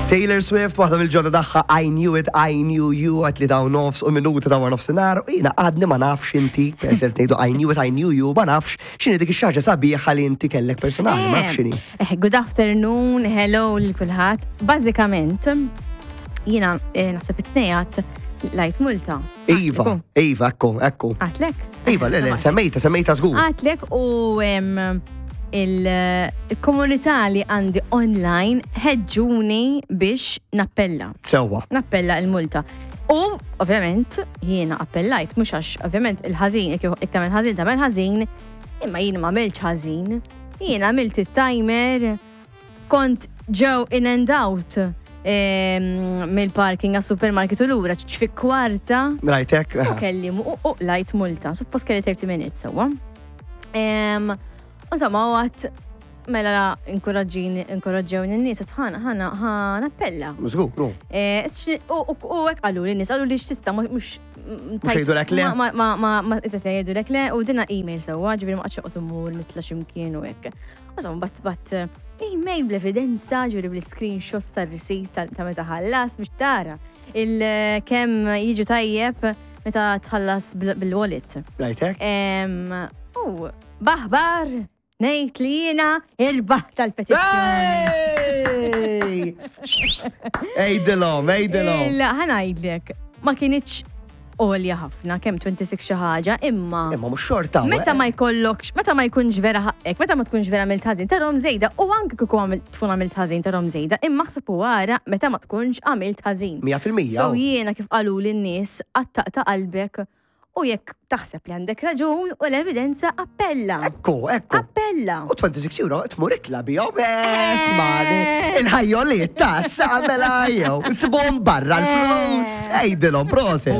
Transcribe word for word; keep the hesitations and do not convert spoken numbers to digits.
Taylor Swift, waħda mill-ġodda tagħha, "I Knew It, I Knew You", għat li daw nofs u minuti ta' war nofsinhar, u jiena għadni ma nafx inti, peress li ngħidu "I knew it, I knew you", ma nafx x'inhi dik ix-xaġa sabiħa li inti kellek personali, ma nafx x'inhi. Eh, Good afternoon, hello lil kulħadd. Bażikament, jiena eh, naħseb it-tnejn qlajt multa. Iva, Iva, ekku, ekku. Għedtlek? Iva, le, le, semmejta, semmejta żgur. Għedtlek u em, il-komunità li għandi online ħeġġuni biex nappella. Sewwa. Nappella il-multa. U, ovvjament, jiena appellajt, mhux għax, ovvjament, il-ħażin, jekk jekk tagħmel ħażin, tagħmel ħażin, imma jiena ma għamiltx ħażin. Jiena għamilt it-timer, kont ġew in and out em, mill-parking għas supermarket u lura fi kwarta. Rajtek? U kelli u u qlajt multa, suppost kelli thirty minutes sewwa. Em, Insomma, u għedt mela inkoraġġini, inkoraġġewni n-nies, għedt ħana, ħana, ħana appella. Żgur, ru. Eh, x- U u- u hekk qalu li n-nies, qalu li x'tista' mhux Mhux jgħidulek le? Ma ma ma ma iżda jgħidulek le u dina email sewwa, ġifieri ma qgħadx oqgħod immur nitla' x'imkien u hekk. Insomma, bgħatt bgħatt email bl-evidenza, ġifieri bl-screenshots tar-receipt ta' ta' meta ħallas biex tara il kemm jiġu tajjeb meta tħallas bil- bil-wallet. Rajtek? Em, U baħbar ngħid li jiena irbaħt tal-petizzjoni. Hey! Ejdilhom, ejdilhom. Il- Ħa ngħidlek, ma kinitx għolja ħafna, kemm twenty-six xi ħaġa, imma Imma mhux xorta. Meta ma jkollokx, meta ma jkunx vera ħaqqek, meta ma tkunx vera għamilt ħażin, tarahom żejda, u anke kieku għamilt tkun għamilt ħażin tarahom żejda, imma ħseb u ara meta ma tkunx għamilt ħażin. mija fil-mija. So jiena kif qalu lin-nies għattaqta qalbek u jekk taħseb li għandek raġun u l-evidenza, appella. Ekku, ekku. Appella. U twenty-six euro tmur ikla bihom, esmani. Il-ħajjoliet ta' mela jew. Sibhom barra l-flus. Ejdilhom, prosit.